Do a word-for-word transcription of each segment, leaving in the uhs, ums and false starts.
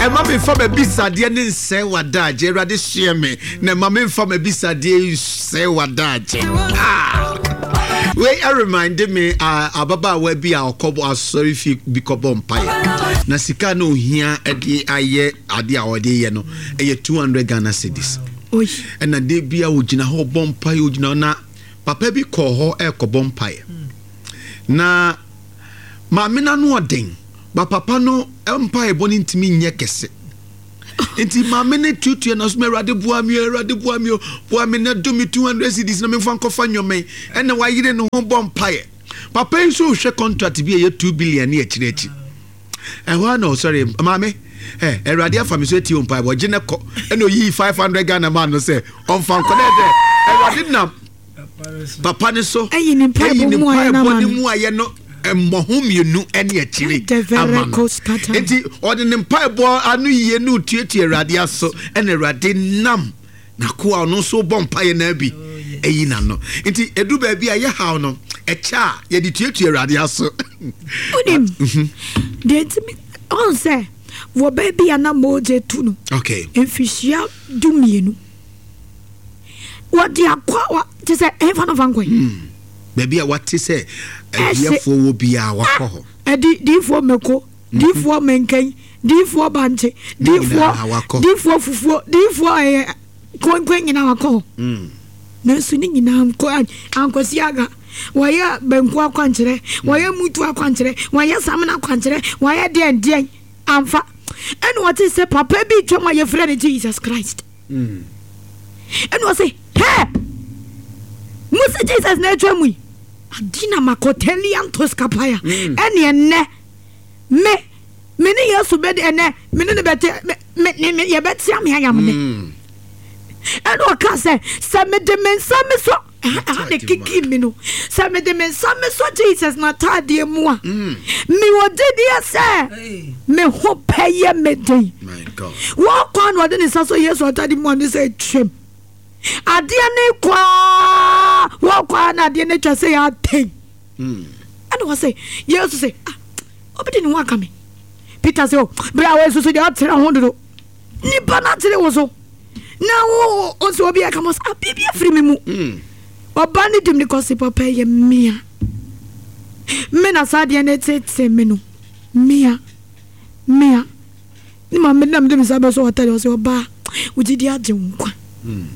Ɛma memfa m'abisadeɛ ne nsɛe w'adagye. Awurade, soɛ me na ɛma memfa m'abisadeɛ nsɛe w'adagye. Ah! Wei ɛremind me uh, ababaawa bi a ɔkɔbɔ asɔre fie bi kɔbɔ mpaeɛ na sika na ohia de ayɛ adeɛ a ɔde yɛ no ɛyɛ two hundred Ghana cedis. Oi. Ɛna de bi a ogyina hɔ bɔ mpaeɛ, ogyina hɔ na papa bi kɔɔ hɔ ɛrekɔbɔ mpaeɛ na maame no ano ɔden ba papa no mpaeɛ bɔ no ntumi nyɛ kɛse, nti maame no tuatua na so, "Awurade, boa me o, Awurade, boa me o, boa me na do me two hundred cedis na memfa nkɔfa nnwoma yi." Ɛna wayere ne ho bɔ mpaeɛ. Papa yi nso hwɛ contract bi a ɛyɛ two billion ne akyire akyi ɛhɔ a na ɔsɔre, "Maame ɛ, Awurade afa me so atie wo mpaeɛ, wɔgye ne kɔ." Ɛna oyii five hundred Ghana man no sɛ ɔmfa nkɔ na ɛdɛ Awurade nam papa ne so ɛyi ne mpaebɔ ɛyi ne mu ayɛ no mpaebɔ ama ne no. mu ayɛ no mmɔho mmienu ɛne akyire ama no. Nti ɔde ne mpaebɔ ano yie ne otuatua Awurade aso, ɛna Awurade nam nakoa ɔno nso bɔ mpaeɛ no bi ɛyi n'ano. Nti edu baabi a yɛhaw no ɛkyɛ a yɛde tuatua Awurade aso. Wonim deɛ nti me- ɔn sɛ wɔ baabi a na mogye tu no okay mfihyia du mmienu wɔde akɔ wa te sɛ ɛmfa no fa nkɔe. Baabi a wate sɛ adiɛfoɔ wɔ biara, wakɔ hɔ. Ɛdi diifoɔ mako, diifoɔ mɛnkɛn, diifoɔ bankye, Ne diifoɔ nyinaa wakɔ. Diifoɔ fufuo, diifoɔ ɛyɛ kɔnkɔn nyinaa wakɔ hɔ. Mm. Nanso ne nyinaa nkɔ ankɔsi aga. Wɔyɛ banku akwankyerɛ, wɔyɛ mutu akwankyerɛ, wɔyɛ samina akwankyerɛ, wɔyɛ deɛn deɛn amfa. Ɛna wɔte sɛ papa bi twam a yɛfrɛ no Jesus Christ. Mm. Ɛna wɔse hɛ musi Jesus na atwa mu yi adina makɔtɛliantos kapaya. Mm. Ɛne ɛnɛ me me ne Yesu bɛde, ɛnɛ me ne ne bɛte me me me yɛbɛtea me ayam ne. Mm. Ɛna ɔka sɛ sɛ mede me nsa me so ɛha ɛha ne kiki mi no, sɛ mede me nsa me so Jesus n'ataadeɛ mu a, Mm. mewɔ gyidie sɛ me ho pɛyɛ me den. My God. Wɔkɔ na ɔde ne nsa so Yesu atade mu a, ne sɛ twam adeɛ ne kɔa wɔkɔ a na adeɛ no atwa sɛ yɛ atɛn. Mm. Ɛna wɔ sɛ Yesu sɛ, "Ah, obi de ne ho aka me." Peter sɛ, "O berɛ a wɔasusu deɛ ɔtere ho dodo, nipa no atere wo so na wo wo sɛ obi aka mo sɛ, ah, biribi afiri me mu." Mm. Ɔba no dim ne kɔse, "Papa, yɛ mmea me na saa adeɛ no tete me no, mmea mmea ne ma me na mede me nsa bɛsɔ ɔtare." Ɔsɛ, "Ɔbaa, wogyidi agye wo nkwa." Mm.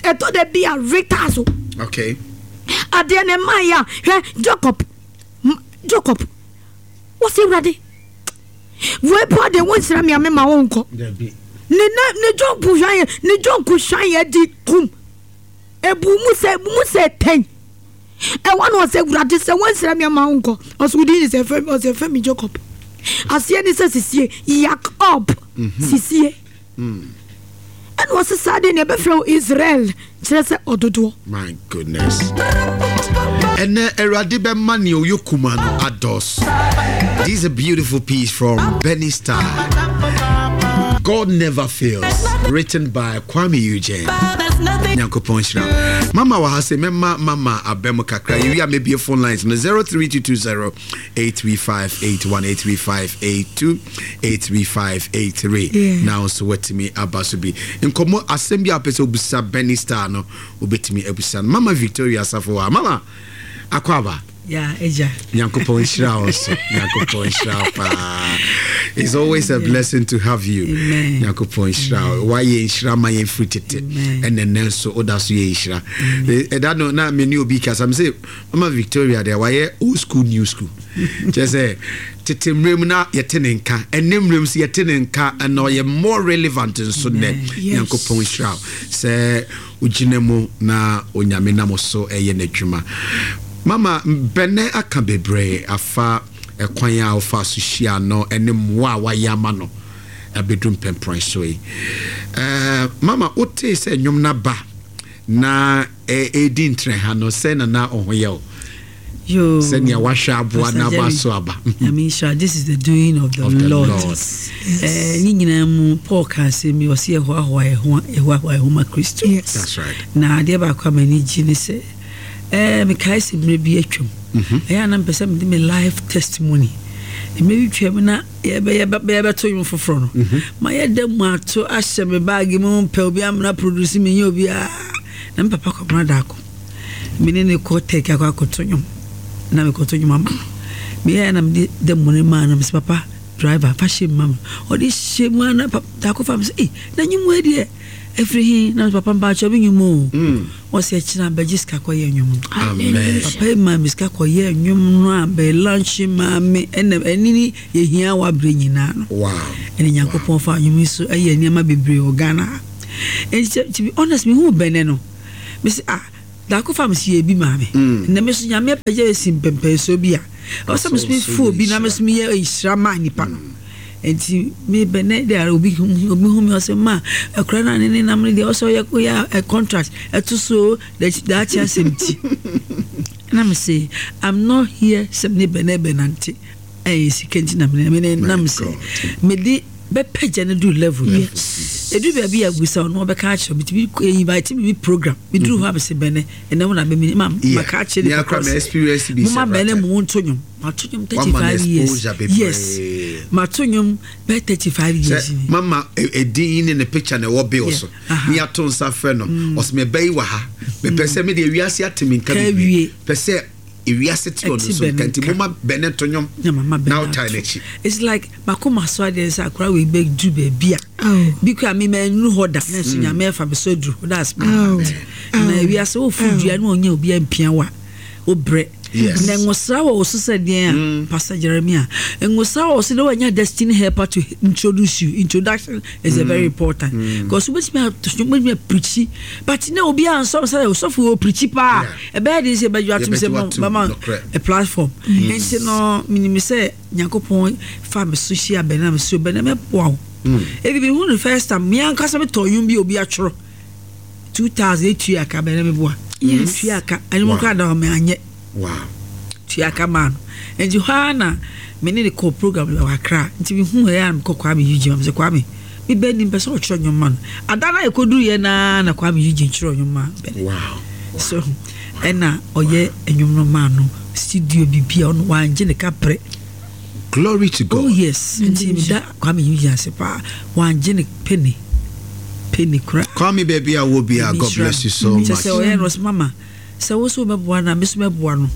Ɛtɔ da bi a reta so okay adeɛ ne mma yɛ a, hwɛ Jacob. M- jacob wɔsɛ, "Awurade, wei pa de wonsra me a mema wo nkɔ." Dabi. Ne ne ne jɔnku hwan yɛ ne jɔnku hwan yɛ di kum ebu mu sɛ ebu mu sɛ tɛn ɛwɔ na ɔsɛ, "Awurade, sɛ wɔnsra me ama wo nkɔ." Ɔsɛ, "Wodi ne sɛ fɛn?" Ɔsɛ, "Fɛn mi Jacob." Aseɛ ne sɛ sisie Yakob sisie. Mm. Ɛna ɔsɛ saa deɛ ne ɛbɛfrɛ wo Israel, kyerɛ sɛ ɔdodoɔ. My goodness. Ɛnɛ Awurade bɛma nea ɔyɛ kuma no adɔɔso. This is a beautiful piece from Benny Star, "God Never Fails," written by Kwame Eugene. Nyankopɔn hyira mama wɔ ha sɛ mɛma mama abɛ mu kakra. Yɛwi a mɛbie phone lines no zero three two two zero eight three five eight one, eight three five eight two, eight three five eight three. Yeah. Na nso watumi aba so bi nkɔmmɔ asɛm bi a wopɛ sɛ wobisa Benny Star no, wobɛtumi abusa no. Mama Victoria Asafo a mama akɔ aba. Ya agya. Nyankopɔn nhyira wo so, Nyankopɔn nhyira wo paa. It's always a blessing to have you. Amen. Nyankopɔn nhyira wo, wayɛ nhyira ma yɛn firi tete. Amen. Ɛnɛ nɛ nso woda so yɛ nhyira. Ɛda no na me ne obi kasa me sɛ Mama Victoria deɛ, wayɛ old school, new school, kyerɛ sɛ tete mmerɛ mu na yɛte ne nka, ɛnɛ mmerɛ mu so yɛte ne nka, ɛna ɔyɛ more relevant nso nnɛ. Yes. Nyankopɔn nhyira wo sɛ wogyina mu na Onyame nam so ɛyɛ n'adwuma. Mama bɛnɛ aka bebree afa ɛkwan a wofa so hyia no ɛne mmoa a wayɛ ama no abɛdu mpɛmprɛn so yi. Ɛɛ, mama wotee sɛ nnwom no aba na ɛ- ɛdi ntrɛ ha no sɛ nana ɔho yɛ wo Yo. sɛnea wahwɛ aboa Pastor na aba Jerry, so aba. Nyame nhyira. This is the doing of the Of the Lord. Lord. Eh, ne nyinaa mu Paul ka asɛm bi, ɔsɛ yɛhoahoa yɛ ho, yɛhoahoa yɛ ho ma Kristo. Yes. That's right. Na adeɛ baako a m'ani gye ne sɛ eh, mekae sɛ mmerɛ bi atwam, Mhm. ɛyɛ a na mpɛ sɛ mede me life testimony Mmerɛ bi twam na yɛbɛto nwom foforɔ no, ma yɛda mu ato ahyɛ me baage mu pɛ obi amena produce me nyɛ obiara. Na me papa kɔmena daako, me ne ne kɔ tɛki akɔ akɔto nwom, na mekɔto nwom ama no. Meyɛɛ na mede da mu no maa no, mesɛ papa driver fa hyɛ mu ma me. Ɔde hyɛ mu a na daako fa me sɛ eh na nwom wei deɛ ɛfiri he? Na papa mpaakyɛ me nwom o. Ɔsɛ ɛkyena bɛgye sika kɔyɛ nwom no. Papa yi maa me sika kɔyɛ nwom no a bɛ lunch maa me, ɛna ɛne ne yɛhia wɔ aberɛ nyinaa no. Ɛne Nyankopɔn fa nwom yi so ɛyɛ nneɛma bebree wɔ Ghana ha. Enti to be honest, mehu bɛnɛ no, mese ah daako fa me si yɛ bi maa me. Na me so Nyame apagya esi mpɛmpɛnsoɔ bi a ɔsɛ me so mefu obi na me so meyɛ nhyira maa nipa no. Enti me bɛnɛ de a obi obi hu me ɔsɛ ma akora na ne ne nam ne deɛ ɔsɛ ɔyɛ ɔyɛ contract ɛto so daakye asɛm ti. Na me say I'm not here sɛ me ne bɛnɛ bɛnante ɛyɛ sika nti na me ne nam sɛ me de bɛpɛgya no du level bi. Edu baabi a busa ɔno ɔbɛka akyerɛ me tumi invite me bi program me duru hɔ a me sɛ bɛnɛ ɛnɛ wo na bɛ ma maka akyerɛ nipa kɔ sɛ mo ma bɛnɛ mo nto nwom. Mato nwom thirty five years. Yes, mato nwom bɛ thirty five years. Mama edin ne ne picture na ɛwɔ bill so. Ni ato nsa frɛ no. Ɔsɛ me bɛyi wɔ ha. Mepɛ sɛ me de ewiase ate me nka bebree. Pɛ sɛ ewiase te ɔno so nka nti mo ma bɛnɛ to nwom. Na ɔtae n'akyi. It's like makoma so adeɛ sɛ akora wei bɛduru baabi a bi kora me mannu hɔ da na nso Nyame afa me so aduru hɔ. That's my heart. Na ewiase wofu dua na ɔnyɛ obi ampia wa wobrɛ. Na ngosra wɔ wo so sɛ deɛn a Pastor Jeremiah ngosra wɔ wo so dɛ wanya destiny helper to introduce you. Introduction is a very important because wobɛtumi wobɛtumi aprikyi but na obi ansɔm sɛ osɔfo wɔ prikyi paa ɛbɛyɛ de sɛ ɛbɛdwo atom sɛ bɛma a platform. Nti no menim sɛ Nyankopɔn fa me so hyia bɛn na me so bɛn na mɛboa wo. Ebi mehu no first time me ankasa metɔ nnwom bi obi atwerɛ two thousand etua aka bɛn na meboa. Tua aka ɛno mu koraa da hɔ me anyɛ. Tua aka maa no. Nti hɔ ara na me ne ne kɔ program wɔ Accra. Nti mehu ɛyɛ a mekɔ Kwame Eugene ma me sɛ Kwame me bɛ nim pɛ sɛ ɔtwerɛ nnwom ma no. Ada na yɛkɔduru yɛ naa na Kwame Eugene twerɛ nnwom ma bɛn. So ɛna ɔyɛ nnwom no maa no studio bibi a ɔno wangye ne kaprɛ. Glory to God. Oh yes. Nti meda Kwame Eugene ase paa. Wangye ne penny. Penny kora. Kwame baby a wo bia, God bless you so much. Sɛ ɔyɛ no mama. Sɛ wo so bɛboa na me so bɛboa no.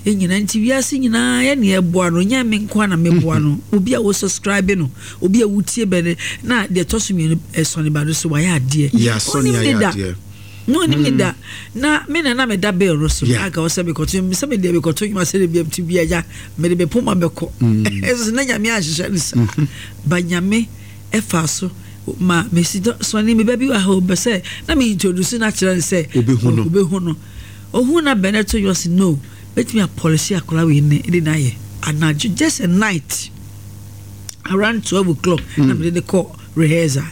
Ɛnyina nti wiase nyinaa yɛ ne ɛboa no. Nyɛ me nko na meboa no. Obi a wo subscribe no, obi a wotie bɛne na deɛ ɛtɔ so mmienu ɛsɔne ba no so wayɛ adeɛ. Yeah, sɔne ayɛ adeɛ. No onim ne da. Na me na na me da bill no so. Aga ɔsɛ mekɔto sɛ me deɛ mekɔto nwuma sɛ de bi bi agya me de bɛpoma bɛkɔ. Ɛso na Nyame ahyehyɛ no saa. Ba Nyame ɛfa so ma me si sɔne me ba bi wɔ ha bɛ sɛ na me introduce na kyerɛ no sɛ obehu no. Obehu no. Ohu na bɛnɛ to yɔ no. Betumi apolish akora we ne de na yɛ. Anadwo just a night around twelve o'clock na me de kɔ rehearsal.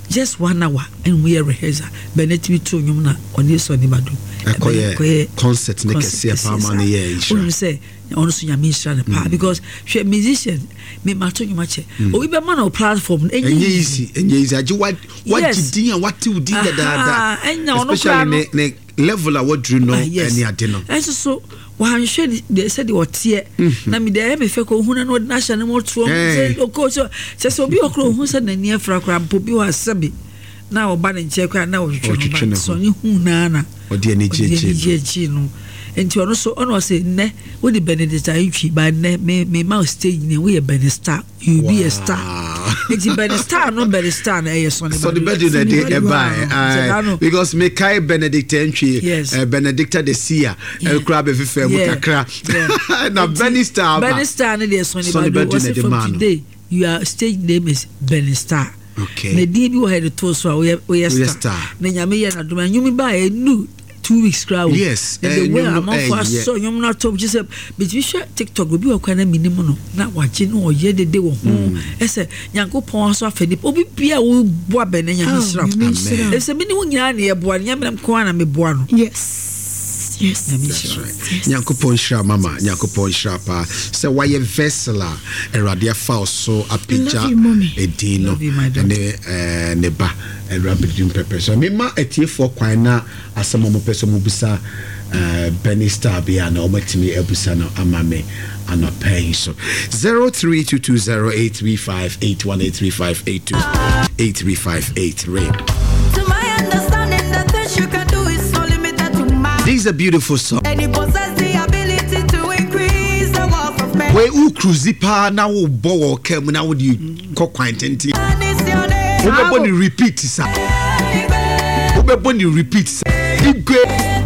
Just one hour and we are rehearsal. Bɛnɛ tumi to nwom na ɔne sɔne bado. Ɛkɔyɛ concert ne kɛseɛ paa ma no yɛ nhyira. Wonim sɛ ɔno so Nyame nhyira no paa because hwɛ musician me ma to nwom akyɛ. Obi bɛma no platform no ɛnyɛ easy, ɛnyɛ easy. Agye wa wagye din a wate wo din dadaada. Especially ne ne level a waduru no ɛne ade no. Ɛnso so wanhwɛ de sɛdeɛ ɔteɛ na me deɛ ɛyɛ me fɛ kɔ ohun na ɔde n'ahyɛ ne mu toɔ sɛ ɔkɔ so sɛ sɛ obi ɔkora ohun sɛ n'ani afra koraa mpo bi wɔ asɛbe na ɔba ne nkyɛn koraa na ɔtwitwi no ba sɔne hu naa na ɔde ani gye akyi no. Nti ɔno so ɔno ɔsɛ nnɛ wode Benedict Antwi ba nnɛ me me ma stage ne woyɛ Benny Star, you be a star. Nti Benny Star no Benny Star na ɛyɛ sɔne Sɔne Badu na de ɛbae because me kai Benedict Antwi, yes. uh, Benedicta de Sia ɛkura bɛ fefɛ mu kakra na Benny Star ba Benny Star ne deɛ Sɔne Badu ɔsɛ from today your stage name is Benny Star. Okay. Na din bi wɔ ha de to so a woyɛ star. Na Nyame yɛ na dom anwumi ba enu two weeks crowd. Yes. And the way amanfo aso nwom na to just betumi hwɛ TikTok obi wɔ kwan na minim no na wagye no ɔyɛ dede wɔ ho. Ɛsɛ Nyankopɔn aso afa nipa obi bia wo boa bɛ na Nyame hyira. Ɛsɛ me ne wo nyinaa na yɛboa no Nyame nko ara na meboa no. Yes. Yes. Nyame hyira. Nyankopɔn hyira mama, Nyankopɔn hyira pa. Sɛ wayɛ vessel a Awurade afa wo so apagya edin no ne ne ba. Ɛwura bɛdi mpɛpɛ so mema atiefoɔ kwan na asɛm a mopɛ sɛ mobisa uh, Benny Star bi a na ɔmatumi abusa no ama me anɔpɛ yi so. zero three two two zero eight three five eight one, eight three five eight two, eight three five eight three. To my understanding, the things you can do is so limited to man. This is a beautiful song. And he possess the ability to increase the wealth of men. Wei wo cruise paa na wobɔ wɔ kaa mu na wode kɔ kwan tenten, And it's your name. wobɛbɔ ne repeat sa, wobɛbɔ ne repeat sa. Igwe.